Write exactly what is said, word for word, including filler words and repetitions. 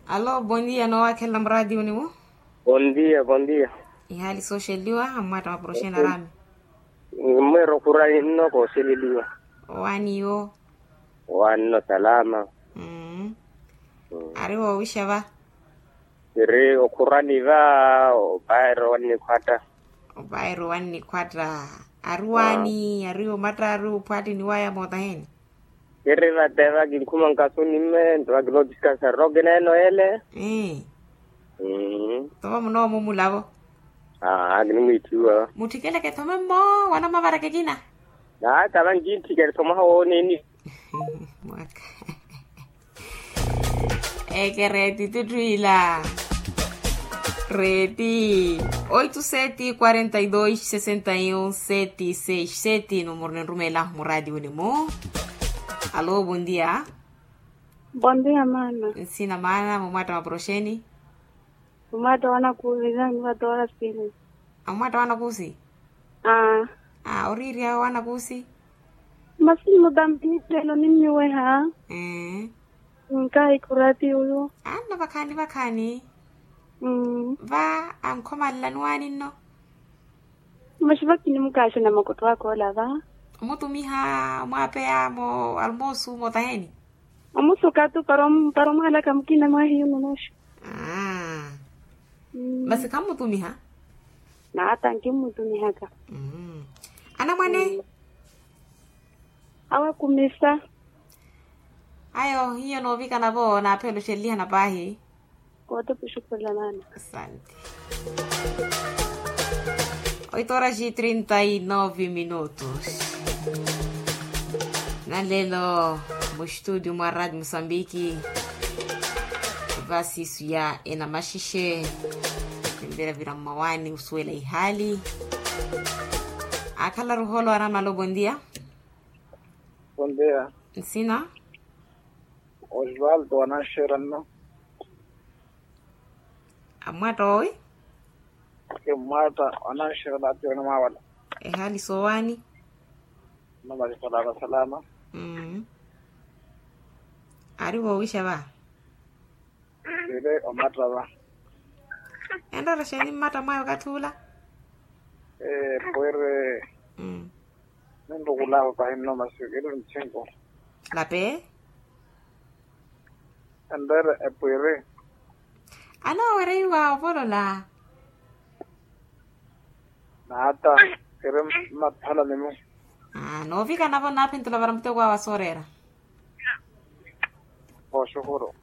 Alo, bondia noowakhelela muraatiyo niwo. Bondia bondia. Ihaali sooxeliwa ammwatta maporoxeni araami. Mweera okhurani nno kooxeleliwa. Owaani yo? Owaani nno salama. Ari woowixa va? Kiri okhurani va. Opaero wannikhwatta. Opaero wannikhwatta. Ari waani ari omatta ari ophwaattini waya mootaheni? Kiri vate vakinkhuma nkasuni mme nto vakinoodiskansa roke neeno ele. Tova munoomumulavo. Aa kinimwiithiwa. Mutthikeleke thome mmo wanamavara kekina. Naata vankintthikele thomaha wooneni. Mwaka. Eke reeti tutthu ila. Reeti. Oito sete quarenta e dois sessenta e um sete seis sete numero ninrumeelahu muraatiwini-mu. Alo bondia. Bondia maana. Nsina maana mumwatta maporoxeni. Mumwatta wanakuusi. Ammwatta wanakuusi. Aa. Aa oriirya wanakuusi. Masi mmutampihi lelo nimmiweha. Nkaahi khuraati uyu. Anno vakhaani vakhaani. Va ankhomalelani waani nno. Masi vakinimukaxena makottho aka ola va. Omutumiha omwaapeyamo almoosu mootaheni. Omusuka tu para omwaalaka mukina mwahiyu nnonoxu. Masi khammutumiha. Naata nkimmutumihaka. Anamwane. Awakumisa. Ayo hiyo noovikana vo naaphela oxelelihana paahi. Kootopa oxukhurela maana. Asante. Oito horas e trinta e nove minutos. Nalelo mustudio mwa radio mosambiki. Vasisu ya enamaxixe. Temperavira mmawaani osuwela ihaali. Akhala ruholo aramalo bondia. Bondia. Nsina. Osvaldo wananxera nno. Ammwatta owi. Kimmwatta wananxera naatiwene mwaawala. Ehaali soowaani. Nno masi salama salama. Ari woowixa va. Siri omatta va. Enroora xeeni mmatta mwaya okathi ula? Pwiri. Ninrukulahu pahi nno masi kiri ntthinku. Lape. Enreere epwiri. Anoowereiwa ovolola. Naata kiri mmathala nimu. Noovikana vo naaphintula vara muteko awe asooreera. Oxukhuru.